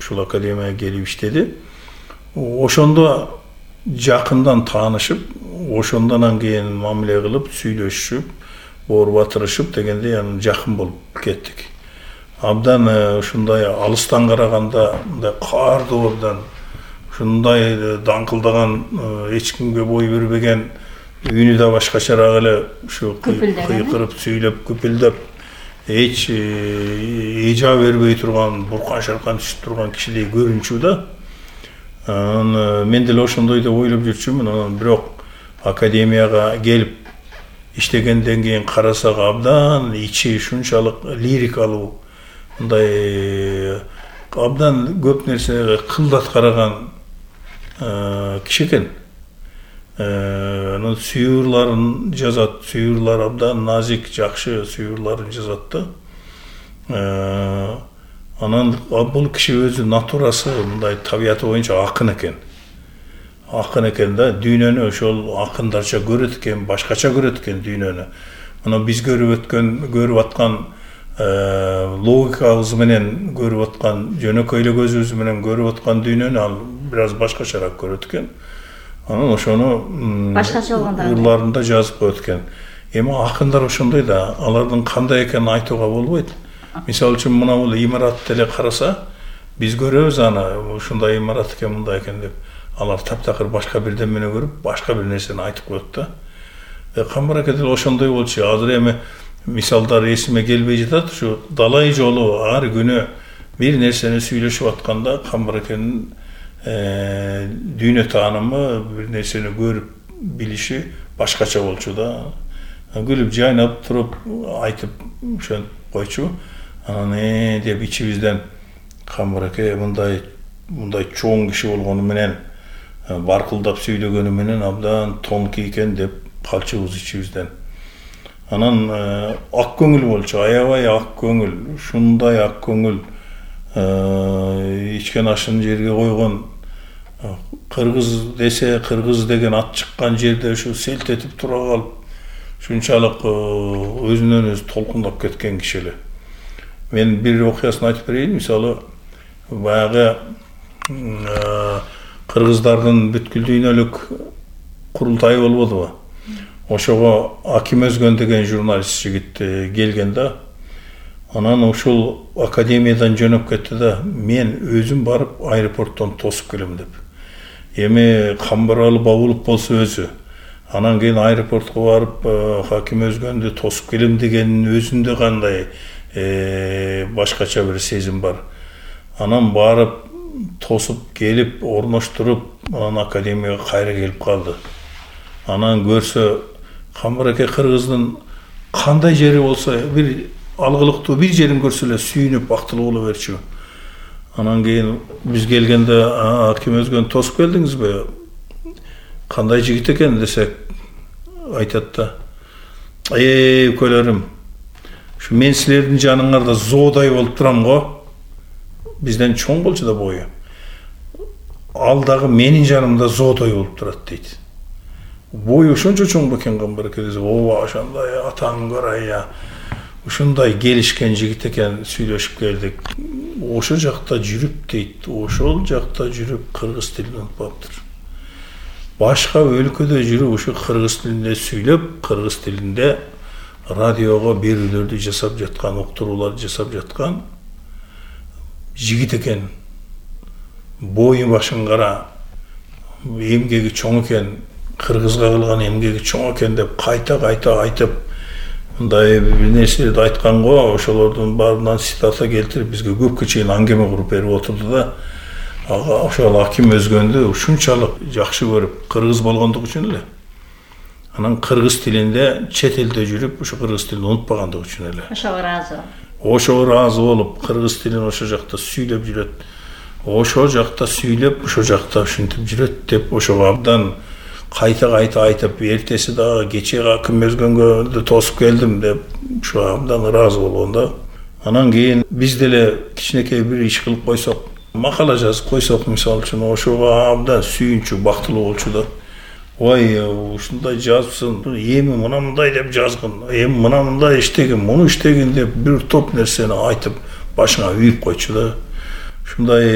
ушул академияга келип иштеди. Ошондо жакындан таанышып, ошондон кийин мамиле кылып, сүйлөшүп, боор батырышып дегенде анан жакын болуп кеттик. Абдан ушундай алыстан караганда мындай каардуу, абдан ушундай даңкылдаган, эч кимге бой бербеген, үнү да башкачараак эле ушу кыйкырып сүйлөп күпүлдөп, эч эжа бербей турган, буркан шаркан түшүп турган кишидей көрүнчү да. Мен деле ошондой деп ойлоп жүрчүмүн. Анан бирок академияга келип иштегенден кийин карасак, абдан ичи ушунчалык лирикалуу, мындай абдан көп нерсеге кылдат караган киши экен. Анан сүйүрларын жазат, сүйүрлар абдан назик, жакшы сүйүрларын жазат да. Анан бул киши өзү натурасы мындай табияты боюнча акын экен. Акын экен да, дүйнөнү ошол акындарча көрөт экен, башкача көрөт экен дүйнөнү. Мына биз көрүп аткан логикабыз менен көрүп аткан, жөнөкөй эле көзүбүз менен көрүп аткан дүйнөнү ал бир аз башкачараак көрөт экен. Анан ошону башкача ырларында жазып коет экен. Эми акындар ошондой да, алардын кандай экенин айтууга болбойт. Мисалы үчүн мына бул имаратты эле караса, биз көрөбүз аны, ушундай имарат экен, мындай экен деп. Алар таптакыр башка бирдемени көрүп, башка бир нерсени айтып коет да. Камбар-ака деле ошондой болчу. Азыр эми мисалдар эсиме келбей жатат. Ушу далай жолу ар күнү бир нерсени сүйлөшүп атканда Камбар-аканын дүйнө таанымы, бир нерсени көрүп билиши башкача болчу да. Күлүп жайнап туруп айтып ошентип койчу. Анан деп ичибизден Камбар-ака мындай чоң киши болгону менен, баркылдап сүйлөгөнү менен абдан тонкий экен деп калчубуз ичибизден. Анан ак көңүл болчу, аябай ак көңүл, ушундай ак көңүл, ичкен ашын жерге койгон, кыргыз десе, кыргыз деген ат чыккан жерде ушу селт этип тура калып, ушунчалык өзүнөн өзү толкундап кеткен киши эле. Мен бир окуясын айтып берейин. Мисалы, баягы кыргыздардын бүткүл дүйнөлүк курултайы болбодубу? Ошого Аким Өзгөн деген журналист жигит келген да. Анан ушул академиядан жөнөп кетти да, мен өзүм барып аэропорттон тосуп келем деп. Эми Камбаралы Бабулов болсо өзү, анан кийин аэропортко барып Аким Өзгөндү тосуп келем дегенин өзүндө кандай башкача бир сезим бар. Анан барып тосуп келип, орноштуруп, анан академияга кайра келип калды. Анан көрсө, Камбар-ака кыргыздын кандай жери болсо, бир алгылыктуу бир жерин көрсө эле сүйүнүп бактылуу боло берчү. Анан кийин биз келгенде Аким Өзгөнү тосуп келдиңизби? Кандай жигит экен десек, айтат да. Көлөрүм, ушу мен силердин жаныңарда зоодай болуп турам го. Бизден чоң болчу да бою. Ал дагы менин жанымда зоодай болуп турат дейт. Бою ошончо чоң бекен Камбар-ака десе, ооба ошондой атаң көрөй, ушундай келишкен жигит экен, сүйлөшүп келдик. Ошо жакта жүрүп дейт, ошол жакта жүрүп кыргыз тилин унутпаптыр. Башка өлкөдө жүрүп ушу кыргыз тилинде сүйлөп, кыргыз тилинде радиого берүүлөрдү жасап жаткан, уктурууларды жасап жаткан жигит экен. Бою башын кара, эмгеги чоң экен, кыргызга кылган эмгеги чоң экен деп кайта айтып, мындай бир нерселерди айткан го. Ошолордун баарынан цитата келтирип бизге көпкө чейин аңгеме куруп берип отурду да. Ошол Аким Өзгөндү ушунчалык жакшы көрүп, кыргыз болгондугу үчүн эле. Анан кыргыз тилинде чет элде жүрүп, ушу кыргыз тилин унутпагандыгы үчүн эле. Ошого ыраазы болуп, кыргыз тилин ошо жакта сүйлөп жүрөт. Ошол жакта сүйлөп, ошол жакта ушинтип жүрөт деп, ошого абдан кайта айтып, эртеси дагы кечээ Аким Өзгөнгө тосуп келдим деп, ушу абдан ыраазы болгон да. Анан кийин биз деле кичинекей бир иш кылып койсок, макала жазып койсок, мисалы үчүн, ошого абдан сүйүнчү, бактылуу болчу да. Ой, ушундай жазыпсың, эми мына мындай деп жазгын, эми мына мындай иштегин, муну иштегин деп бир топ нерсени айтып, башыңа үйүп койчу да. Ушундай